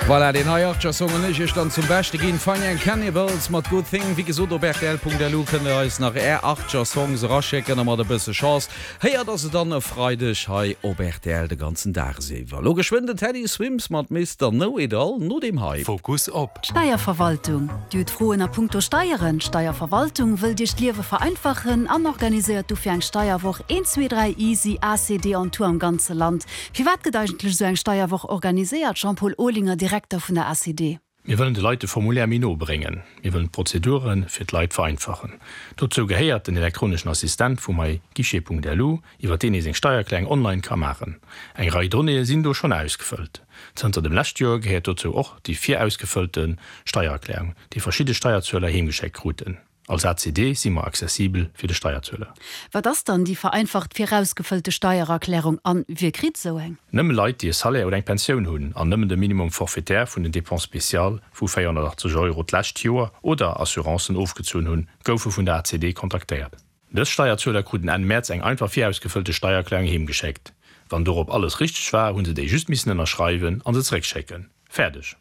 Voilà, deen hei Archer Song hunn ech iech dann zum Beschte ginn. Fine Young Cannibals mat Good Thing. Wéi gesot, op rtl.lu kënnt der eis nach är Archer Songs eraschécken a mat e bësse Chance héiert der se dann e Freideg hei op rtl de ganzen Dag iwwer. Lo geschwënn den Teddy Swims mat Mister Know It All no deem hei. Fokus op. D'Steierverwaltung. Dir hutt Froen a punkto Steieren? D'Steierverwaltung wëllt Iech d'Liewe vereinfachen an organiséiert dofir eng Steierwoch 1, 2, 3 Easy ACD on Tour am ganze Land. Firwat gëtt eigentlech esou eng Steierwoch organiséiert? Jean-Paul Olinger, Direkter vun der ACD. Mir wëllen de Leit de Formulaire méi no bréngen. Mir wëllen d'Prozedure fir d'Leit vereinfachen. Dozou gehéiert den elektroneschen Assistent vu myguichet.lu, iwwer deen ee seng Steiererklärung online ka maachen. Eng Rei Donnéeë sinn do schonn ausgefëllt. Zënter dem lescht Joer gehéiert dozou och déi virausgefëllte Steiererklärung, déi verschidde Steierzueler heemgeschéckt kruten. Als ACD si mer accessibel fir de Steierzueler. Wat ass dann déi vereinfacht virausgefëllte Steiererklärung an wie kritt esou eng? Nëmme Leit, déi e Salaire oder eng Pensioun hunn an nëmmen de Minimum forfaitaire vun den Dépenses spéciales vu 480 Euro d'lescht Joer oder Assurancen ofgezunn hunn, goufe vun der ACD kontaktéiert. Dës Steierzueler kruten Enn Mäerz eng einfach virausgefëllte Steiererklärung heemgeschéckt. Wann dorop alles richteg war, hu se déi just missen ënnerschreiwen an se zeréckschécken. Fäerdeg!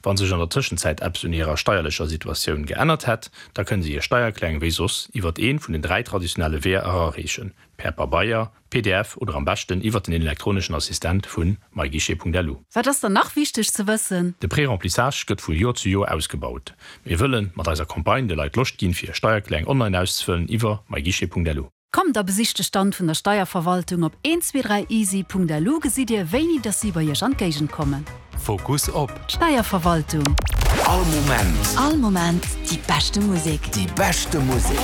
Wa sech an der Tëschenzäit eppes un hirer steierlecher Situatioun geännert hätt, da kënne se hir Steiererklärung wéi soss iwwert ee vun den 3 traditionelle Weeër erareechen, per Pabeier, pdf oder am beschten iwwert den elektroneschen Assistent vu myguichet.lu. Wat ass dann nach wichteg ze wëssen? De Préremplissage gëtt vu Joer zu Joer ausgebaut. Mir wëlle mat eiser Campagne de Leit Loscht ginn, fir hir Steiererklärung online auszefëllen iwwer myguichet.lu. Kommt a besicht de Stand vun der Steierverwaltung op 123easy.lu gesitt dir wéini dass si bei iech an d'Géigend kommen. Fokus op. D'Steierverwaltung. All Moment. All Moment déi beschte Musek. Déi beschte Musek.